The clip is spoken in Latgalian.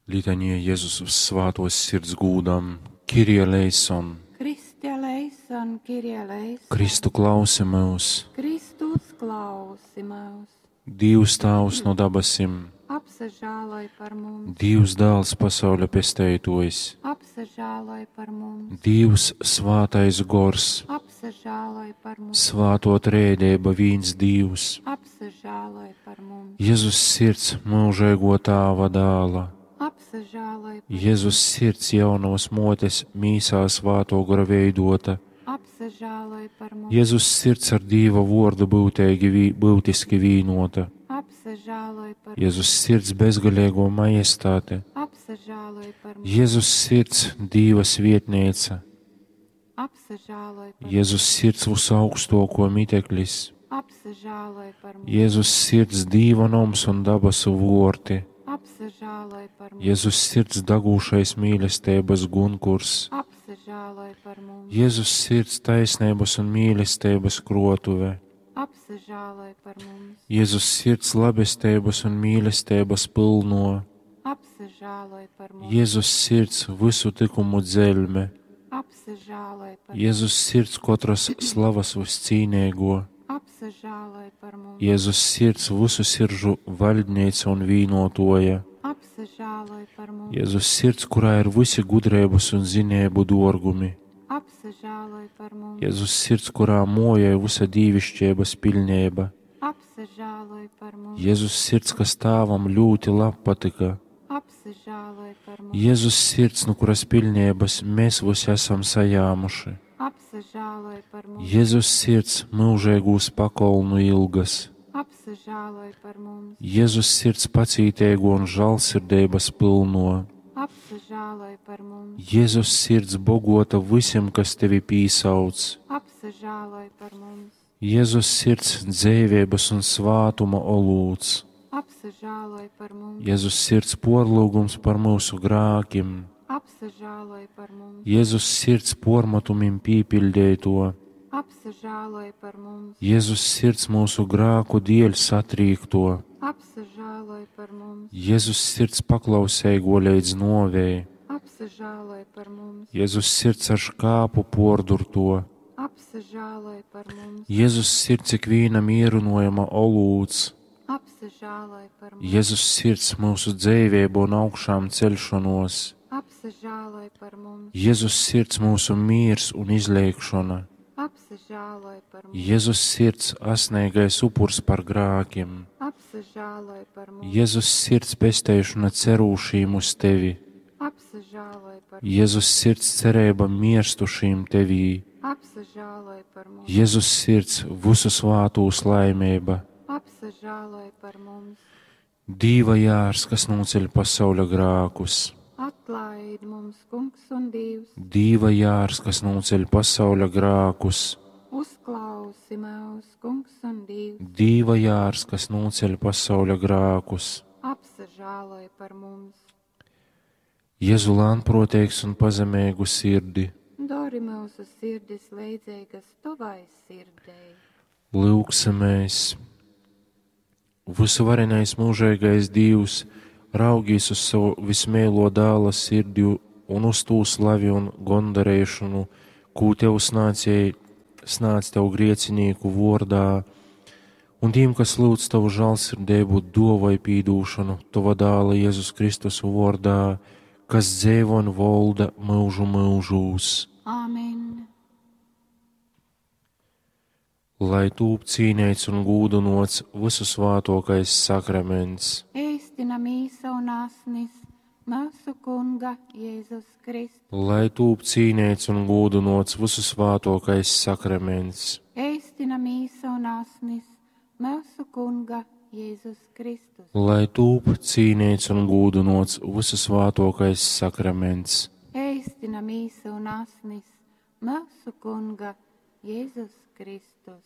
Litanija Jezus svātōs sirds gūdam, Kyrie eleison! Christe eleison, Kyrie eleison! Kristu klausi myus! Kristu uzklausi myus! Dīvs Tāvs no dabasim! Apsažāloj par mums! Dīvs Dāls pasauļa pesteitōjs! Apsažāloj par mums! Dīvs Svātais Gors! Apsažāloj par mums! Svātō Trejadeiba vīns Dīvs! Apsažāloj par mums! Jezus Sirds myužeigō Tāva dāla! Apsažāloj par Jezus Sirds jaunovas mōtes mīsā Svātō Gora veidōta! Apsažāloj par mums! Jezus Sirds ar Dīva vōrdu byuteigi vī, byutiski vīnōta! Apsažāloj par mums! Jezus Sirds bezgaleigō majestāte! Apsažāloj par mums! Jezus Sirds Dīva svietneica! Apsažāloj par mums! Jezus Sirds vysuaugstōkō miteklis! Apsažāloj par mums! Jezus Sirds Dīva noms un dabasu vōrti! Apsažāloj par mums! Jezus Sirds dagūšais mīlesteibas gunkurs! Apsažāloj par mums! Jezus Sirds taisneibas un mīlesteibas krōtuve! Apsažāloj par mums! Jezus Sirds labesteibas un mīlesteibas pylno! Apsažāloj par mums! Jezus Sirds vysu tykumu dzeļme! Apsažāloj par mums! Jezus Sirds kotras slavas vyscīneigō! Apsažāloj par mums! Jezus Sirds vysu siržu vaļdneica un vīnōtōja! Apsažāloj par mums! Jezus Sirds, kurā ir vysi gudreibas un zineibu dōrgumi! Apsažāloj par mums! Jezus Sirds, kurā mōjoj vysa dīviškeibas piļneiba! Apsažāloj par mums! Jezus Sirds, kas Tāvam ļūti labpatyka! Apsažāloj par mums! Jezus Sirds, nu kuras piļneibas mēs vysi asam sajāmuši! Apsažāloj par mums! Jezus Sirds, myužeigūs pakolnu ilgas! Apsažāloj par mums! Jezus Sirds pacīteigo un žālsirdeibas pylno! Apsažāloj par mums! Jezus Sirds bogota vysim, kas tevi pīsauc! Apsažāloj par mums! Jezus Sirds dzeiveibas un svātuma olūts! Apsažāloj par mums! Jezus Sirds porlyugums par myusu grākim! Apsažāloj par mums! Jezus Sirds pormatumim pīpiļdeito! Apsažāloj par mums! Jezus Sirds myusu grāku dieļ satrīkto! Apsažāloj par mums! Jezus Sirds paklauseigo leidz nōvei! Apsažāloj par mums! Jezus Sirds ar škāpu pōrdurto! Apsažāloj par mums! Jezus Sirds ikvīna mierynojuma olūts! Apsažāloj par mums! Jezus Sirds myusu dzeiveibu un augšām ceļšonos! Apsažāloj par mums! Jezus Sirds myusu mīrs un izleigšona! Apsažāloj par mums! Jezus Sirds asneigais upurs par grākim! Apsažāloj par mums! Jezus Sirds pesteišona cerūšīm uz tevi! Apsažāloj par mums! Jezus Sirds cereiba mirstušīm tevī! Apsažāloj par mums! Jezus Sirds vysu svātūs laimeiba! Apsažāloj par mums! Dīva jārs, kas nūceļ pasauļa grākus! Atlaid mums, Kungs un Dievs, Dīva jārs, kas nūceļ pasauļa grākus! uzklausi mūs, Kungs un Dievs, Dīva jārs, kas nūceļ pasauļa grākus! apsažāloj par mums! Jēzu lānproteigs un pazemīgu sirdi, Dori mūsu sirdis leidzīgas tavai sirdei. lūgsimies! Visuvarenais mūžīgais Dievs, raugīs uz savu vismīlo dēla sirdi un uz tū slavi un gondarēšanu, kū tev snācēji, snāc tev griecinīku vordā, un tiem, kas lūdz tavu žālsirdību, dovai pīdūšanu, tava dēla Jēzus Kristus vordā, kas dzēvo un volda mūžu mūžūs. Āmen! Lai tūp cīnīts un gūdinots visu svātokais sakraments. Ēstina mīsa un asnis mūsu Kunga Jēzus Kristus. Lai tūp cīnīts un gūdinots visu svātokais sakraments. Ēstina mīsa un asnis mūsu Kunga Jēzus Kristus. Lai tūp cīnīts un gūdinots visu svātokais sakraments. Ēstina mīsa un asnis mūsu Kunga Jēzus Kristus.